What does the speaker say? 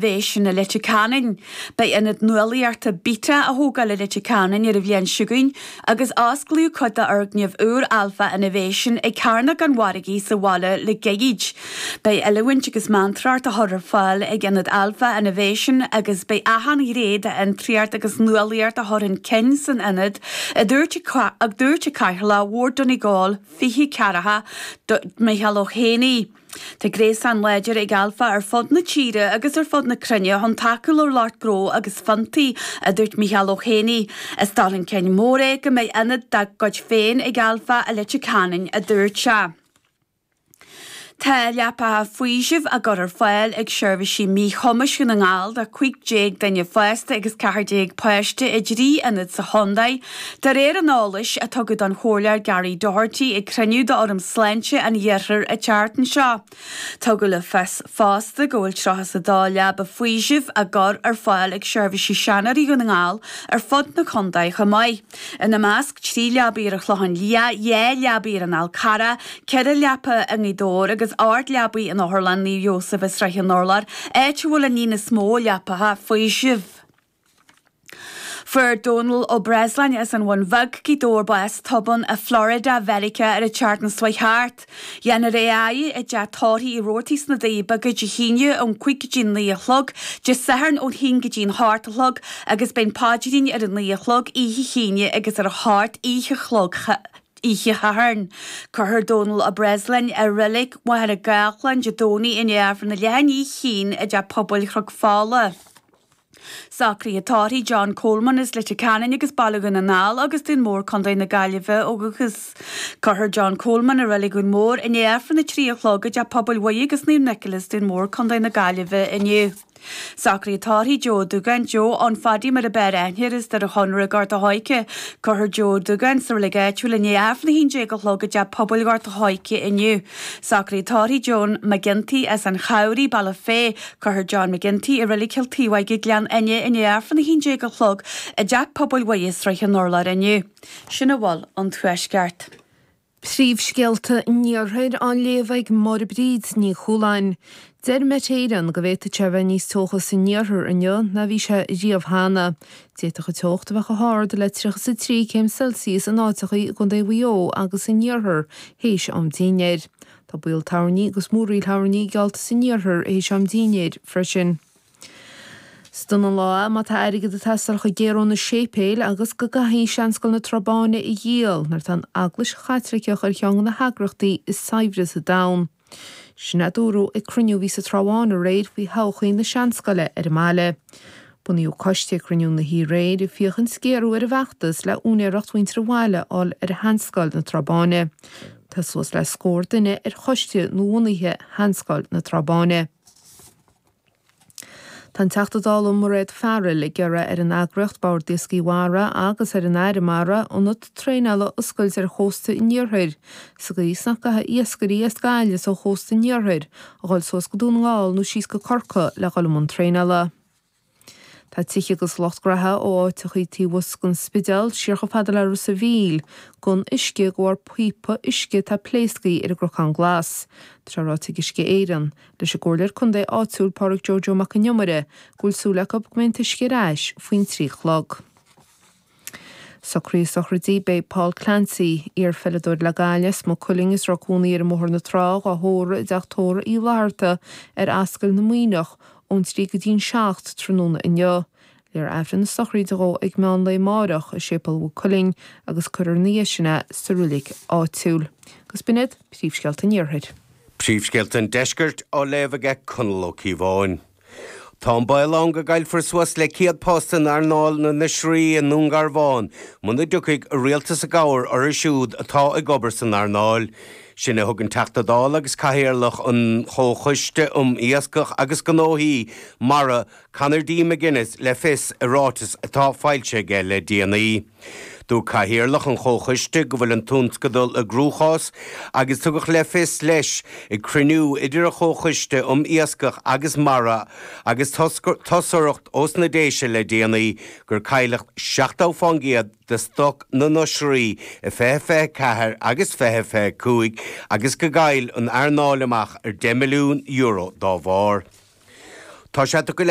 Innovation i Leitir Ceanainn. Beidh Ionad Nuálaíochta Beta á thógáil i Leitir Ceanainn ar an bhliain seo chugainn agus osclaíodh cuid d'fhoirgneamh úr Alpha Innovation ag Cearnóg an Mhargaidh sa bhaile le gairid. Beidh oiliúint agus meantóireacht á chur ar fáil ag Ionad Alpha Innovation agus beidh achan ghné d'fhiontraíocht agus nuálaíocht á chur chun cinn san ionad, a dúirt a dúirt an Cathaoirleach Bhord Donegal 24, Micheál Ó hÉanaí. Tá gréasán láidir ag Alpha ar fud na tíre agus ar fud na cruinne chun tacú le lucht gnó agus fiontaí, a dúirt Micheál Ó hÉanaí. Is dul chun cinn mór é go mbeidh ionad dá gcuid féin ag Alpha i Leitir Ceanainn, a dúirt sé. Tá leapacha faoisimh á gcur ar fáil ag seirbhísí míchumais Dhún na nGall do 15 duine fásta agus 14 páiste i dtrí ionad sa chontae, De réir an eolais a tugadh don Chomhairleoir Gary Doherty ag cruinniú d'Fhóram Sláinte an Iarthair an tseachtain seo, tugadh le fios fosta go bhfuil 32 leaba faoisimh á gcur ar fáil ag seirbhísí seanóirí Dhún na nGall ar fud na contae chomh maith. Ina measc, 3 leabaidh ar an Chlochán Liath, 2 leabaidh ar an Fhál Carrach, 4 leapa i nGaoth Dobhair agus 8 leabaidh in Otharlann Naomh Iósaf i Sraith an Urláir, áit a bhfuil an líon is mó leapacha faoisimh. Fuair Dónal Ó Breasláin as an Bhun Bheag, Gaoth Dobhair bás tobann i Florida, Mheiriceá ar an tseachtain seo chuaigh thart. Dhéanfar é a fhaire i dteach tórraimh Uí Robhartaigh sna Doirí Beaga Dé hAoine ón 5 go dtí an 9 a chlog, Dé Sathairn ón 1 go dtí an 8 a chlog agus beidh an paidrín ar a 9 a chlog oíche hAoine agus ar a 8 oíche chlog oíche Shathairn. Cuirfear Dónal Ó Breasláin i Reilig Mhachaire Gathlán Dé Domhnaigh i ndiaidh Aifreann a leath i ndiaidh a haon i dTeach Pobail Chnoc Fola. Socruithe tórraimh John Coleman as Leitir Ceanainn agus Baile Dhún na nGall agus Dún Mór Co. na Gaillimhe ó dhúchas. Cuirfear John Coleman i Reilig Dhún Mór i ndiaidh Aifreann 3 a chlog i dTeach Pobail Mhuire agus Naomh Nicholas, Dún Mór Co. na Gaillimhe inniu. Socruithe tórraimh Joe Ó Dúgáin, Joe Fhionn Phadaí mar a b'fhearr aithne air as Doire Chonaire Gort a' Choirce. Cuirfear Joe Ó Dúgáin sa reilig áitiúil i ndiaidh Aifreann 11 a chlog i dTeach Pobail Ghort a' Choirce inniu. Socruithe tórraimh Joan McGinty as an Chabhraigh, Bealach Féich. Cuirfear John McGinty i Reilig Chill Taobháige, Gleann Fhinne i ndiaidh Aifreann 11 a chlog i dTeach Pobail Mhuire, Sraith an Urláir inniu. Sin a bhfuil ón Tuaisceart. Príomhscéalta an Iarthair á léamh ag Máire Bríd Ní Chualáin. Deir Met Éireann go bhféadfadh sé a bheith níos teocha san iarthar inniu ná bhí sé riamh cheana. D'fhéadfadh an teocht a bheith chomh hard le 33 céim Celsius in áiteachaí i gContae Mhaigh Eo agus san iarthar théis am dinnéir. Tá baol toirní agus múraíl thoirní geallta san iarthar théis am dinnéir freisin. Is dona an lá é má tá airgead ag teastáil chun géarú na séipéil agus go gcaithfí Seanscoil na Trá Báine a dhíol nuair atá an Eaglais Chaitliceach ar cheann de na heagraíochtaí is saibhre sa domhan. Sin a dúradh ag cruinniú a bhí sa Trá Bháin aréir faoi thodhchaí na seanscoile ar an mbaile. Bunaíodh coiste ag cruinniú na hoíche aréir ag féachaint géarú ar an bhfeachtas le úinéireacht mhuintir an bhaile a fháil ar Sheanscoil na Trá Báine. Tá suas le scór duine ar choiste nuabhunaithe Sheanscoil na Trá Báine. Tá an Teachta Dála Mairéad Farrell ag iarraidh ar an eagraíocht Bord Iascaigh Mhara agus ar an Aire Mara ionad traenála a oscailt ar chósta an iarthair sa gcaoi is nach gcaithfidh iascairí as Gaillimh is ó chósta an iarthair a dhul suas go Dún na nGall nó síos go Corcaigh le dhul i mbun traenála. Tá tithe agus lucht graithe ó áiteachaí taobh thuas den Spidéal siar chomh fada le Ros a' Mhíl gan uisce de bharr píopa uisce atá pléasctha ar an gCnocán Glas. Tá sé ráite ag Uisce Éireann leis an gcomhairleoir contae áitiúil Pádraig Joe Joe Mac an Iomaire go bhfuil súil acu go mbeidh an t-uisce ar ais faoin 3 a chlog. Socruithe sochraidí Beidh Paul Clancy, iar-pheileadóir le Gaillimh as Maigh Cuilinn is a raibh cónaí air i mBóthar na Trá, dhá thórramh i dteach tórraimh Uí Fhlatharta ar Ascaill na Muimhneach ón 3 go dtí'n 7 tráthnóna inniu. Léifear Aifreann na sochraide dhó ag meán lae amáireach i Séipéal Mhaigh Cuilinn agus cuirfear ina dhiaidh sin é sa roilig áitiúil. Agus b'in iad príomhscéalta an Iarthair. Príomhscéalta an Deiscirt á léamh aige Conall Ó Cíobháin. Tá an baol ann go gcaillfear suas le 100 post in earnáil na n-oisrí i nDún Garbhán muna dtiocfaidh an Rialtas i gcabhair orthu siúd atá ag obair san earnáil. Sin a thug an Teachta Dála agus Cathaoirleach an Chomhchoiste um Iascach agus Gnóthaí Mara, Conor D. McGuinness le fios i ráiteas atá foilsithe aige le déanaí. Dúirt Cathaoirleach an Chomhchoiste go bhfuil an tionscadal i gcruachás agus tugadh le fios leis ag cruinniú idir an Chomhchoiste um Iascach agus Mara agus toscaireacht ós na Déise le déanaí gur cailleadh 70% de stoc na n-oisrí i 2024 agus 2025 agus go gcaill an earnáil amach ar €10 milliún dá bharr. Tá sé tugtha le.